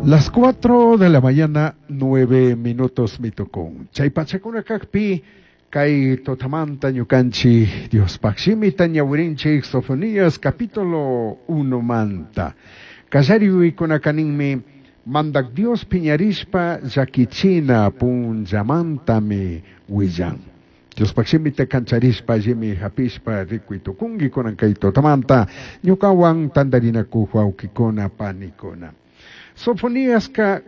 Las 4 de la mañana, 9 minutos mitukun. Chay pachakuna kakpi, kay tutamanta ñukanchik Diospaq shimita ñawirinchik Sofonías capítulo 1 manta. Kallari yuyaykunaka mandak Dios piñarishpa llakichina punllamantami willan. Diospaq shimita kancharishpa allimi hapishpa rikuy tukunki kunan kay tutamanta ñukawan tantarinakuq wawqikuna panikuna. Sofoniaska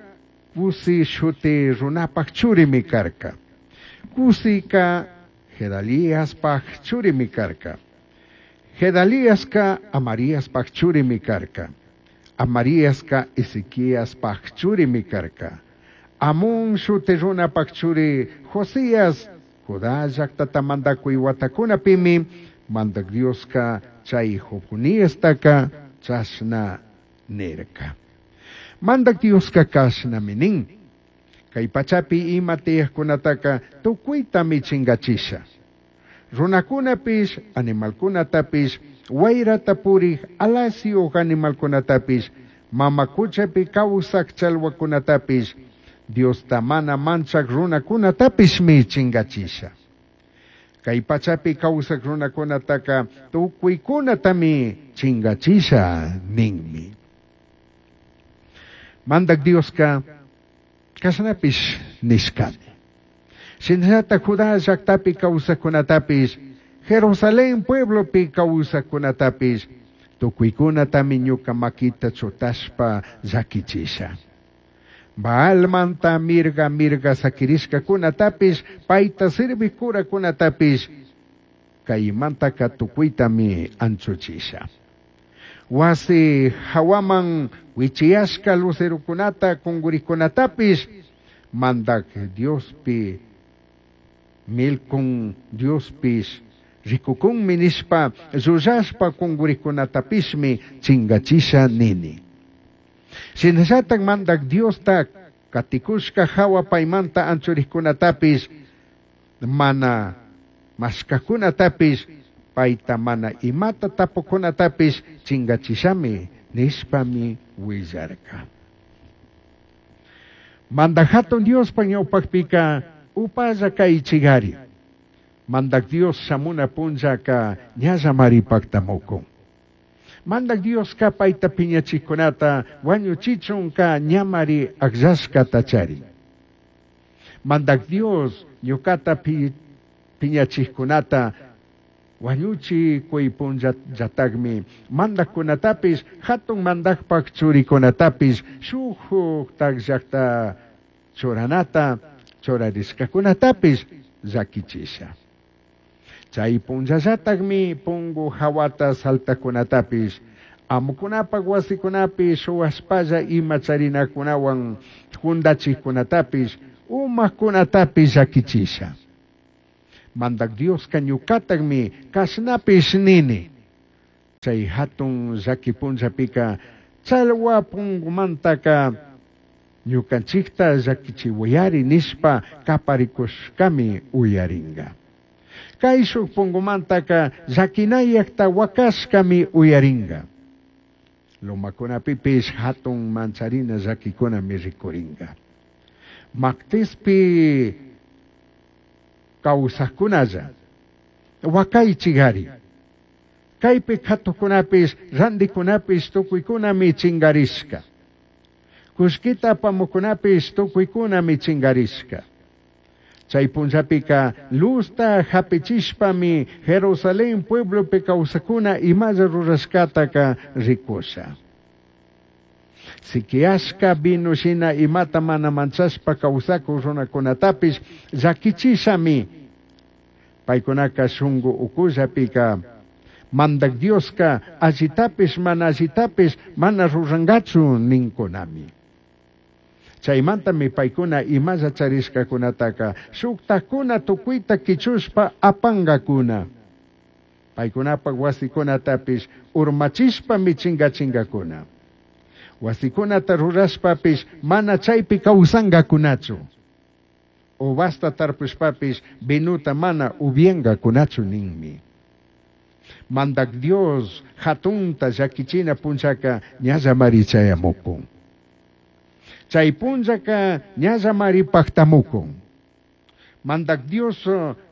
Cusi shuti runapaq churimi karka. Cusika Gedaliaspaq churimi karka. Gedaliaska Amariaspaq churimi karka. Amariaska Ezequiaspaq churimi karka. Amón shuti runapaq churi Josías Judá llaqtata mandakuy watakunapimi mandak Dioska chay Jofoniastaka chashna nirka. Mandak Dioska kashnami nin. Kay pachapi ima tiyaqkunataka tukuytami chinkachisha. Runakunapish, animalkunatapish, wayrata puriq alasiyuq animalkunatapish, mama quchapi kawsaq challwakunatapish, Diosta mana manchaq runakunatapishmi chinkachisha. Kay pachapi kawsaq runakunataka tukuykunatami chinkachisha ninmi. Mandak Dioska kashnapish nishkami. Shinallata Judá llaqtapi kawsaqkunatapish, Jerusalén pueblopi kawsaqkunatapish, tukuykunatami ñuka makita chutashpa llakichisha. Baalmanta mirga mirga sakirishkakunatapish, payta sirvik kurakunatapish, kaymantaka tukuytami anchuchisha. Wasi hawaman wichiyashka lucerokunata kunkurikkunatapish, mandak Diospi milkun Diospish rikukunmi nishpa llullashpa kunkurikkunatapishmi chinkachisha nini. Shinallatak mandak Diosta katikushka hawa paymanta anchurikkunatapish mana mashkakunatapish payta mana imata tapukunatapish chinkachishami nishpami willarka. Mandak hatun Diospa ñawpaqpika upalla kaychikari. Mandak Dios shamuna punllaka ñallamari paktamukun. Mandak Dioska payta piñachikkunata wañuchichunka ñamari akllashkata charin. Mandak Dios ñukata piñachikkunata wañuchi kuy punllallatakmi mandakkunatapish hatun mandakpak churikunatapish shuktak llaqta churanata churarishkakunatapish llakichisha. Chay punllallatakmi pungu hawata saltakunatapish amukunapak wasikunapi shuwashpalla ima charinakunawan jundachikkunatapish umakunatapish llakichisha. Mandak Dioska ñukatakmi kashnapish nini. Chay hatun llaki punllapika challwa pungumantaka ñukanchikta llakichiwayari nishpa kaparikushkami uyaringa. Kayshuk pungumantaka llakinayakta wakashkami uyaringa. Lomakunapipish hatun mancharina llakikunami rikuringa. Mactispi kawsaqkunalla wakaychikari. Kaypi katukunapish rantikunapish tukuykunami chinkarishka. Kullkita apamukunapish tukuykunami chinkarishka. Chay punllapika luzta hapichishpami Jerusalén pueblopi kawsakuna imalla rurashkataka rikusha. Sikiashka vino shina imata mana manchashpa kawsakuk runakunatapish llakichishami. Paykunaka shunku ukullapika mandak Dioska allitapish mana allitapish mana rurankachu ninkunami. Chaymantami paykuna imalla charishkakunataka shuktakuna tukuyta kichushpa apankakuna. Paykunapak wasikunatapish urmachishpami chinkachinkakuna. Wasikunata rurashpapish mana chaypi kawsankakunachu. Uvasta tarpushpapish vinuta mana upyankakunachu ninmi. Mandak Dios hatunta llakichina punllaka ñallamari chayamukun. Chai punllaca ñallamari pajtamucun. Mandac Dios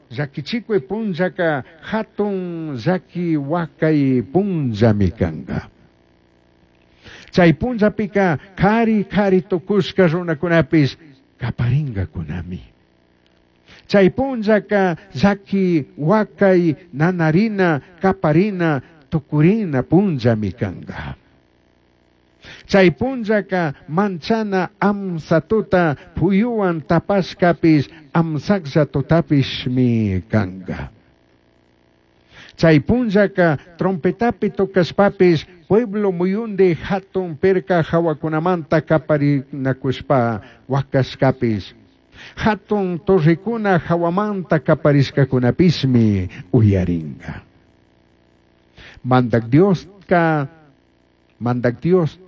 llaquichicui punllaca jatun llaqui huacai punllami canga. Chai punllapica cari cari tucushca runacunapish caparingacunami. Chai punllaca llaqui huacai nanarina caparina tucurina punllami canga. Chai punllaca manchana amsa tuta puyuhuan tapashcapish amsaclla tutapishmi canga. Chai punllaca trompetapi tocashpapish pueblo muyundi jatun pirca jahuacunamanta caparinacushpa huacashcapish jatun torrecuna jahuamanta caparishcacunapishmi uyaringa. Mandac Diosca, Mandac Dios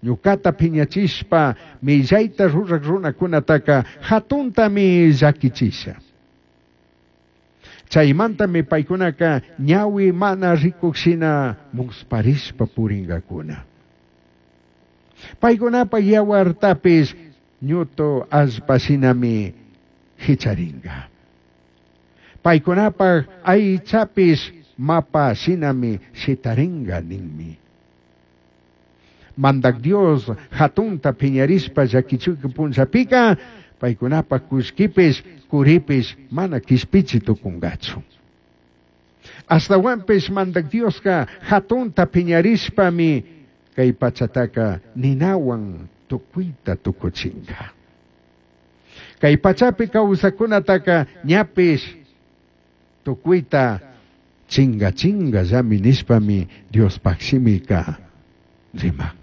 ñucata piñachishpa millaita ruraj runacunataca jatuntami llaquichisha. Chaimantami paicunaca ñahui mana ricuj shina musparishpa puringacuna. Paicunapaj yahuartapish ñutu allpa shinami jicharinga. Paicunapaj aichapish mapa shinami shitaringa ninmi. Mandac Dios jatunta piñarishpa llaquichuc punllapica paicunapaj cullquipish curipish mana quishpichi tucungachu. Ashtahuanpish Mandac Diosca jatunta piñarishpami cai pachataca ninahuan tucuita tucuchinga. Cai pachapi causacunataca ñapish tucuita chinga chingallami nishpami Diospaj shimica riman.